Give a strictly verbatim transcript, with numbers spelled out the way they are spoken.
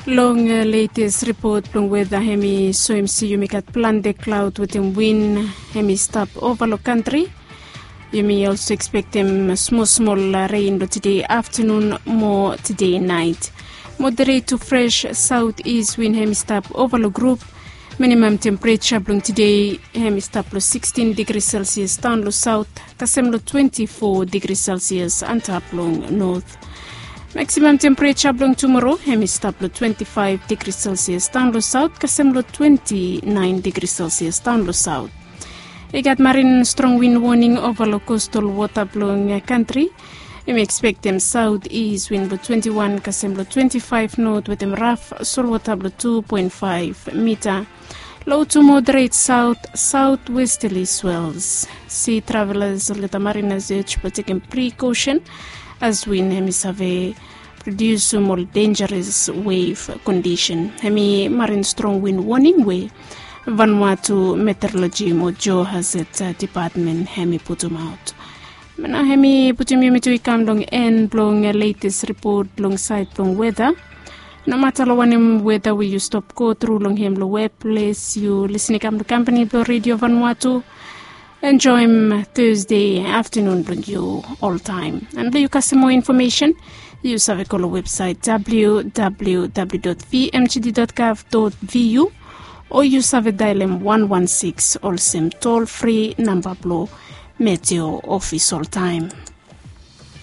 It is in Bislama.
Long letes ripot blong weda hem i soem se yumi gat plante klaod wetem win hem i stap ova long kantri. Yumi olso ekspektem smol smol ren long tede aftanun mo tede nait. Moderet tu fres saot is win hem i stap ova long grup. Minimam tempereja blong tede hem i stap long sikstin digri selsias daon long saot, kasem long twenti fo digri selsias antap long not. Maksimam tempereja blong tumoro hem i stap long twenti faef digri selsias daon long saot, kasem long twenti naen digri selsias daon long saot. I gat marin strong win woning ova long kostal wota blong kantri. Yumi ekspektem saot is win blong twenti wan kasem long twenti faef not wetem raf solwota blong tu poen faef mita. Low tu moderet saot saot westali swels. Si travelas olgeta marinas ej blong tekem prikosen as win hem i save prodiusum ol denjaras wef kondisen. Hem i marin strong win woning we Vanuatu Meteoroloji mo Geohazard Dipatmen hem i putumaot. Nao hem i putum yumi tu i kam long en blong letes ripot long saed blong weda. Nomata long wanem weda we yu stap go tru long hem long weples yu lisin i kam long kampani blong redio Vanuatu. Enjoem Thursday aftanun blong yu oltaem. And blong yu kasem moa infomesen, yu save go long websaet www.vmgd.gov.vu o yu save daelem wan wan siks olsem tol fri namba blong Meteo ofis oltaem.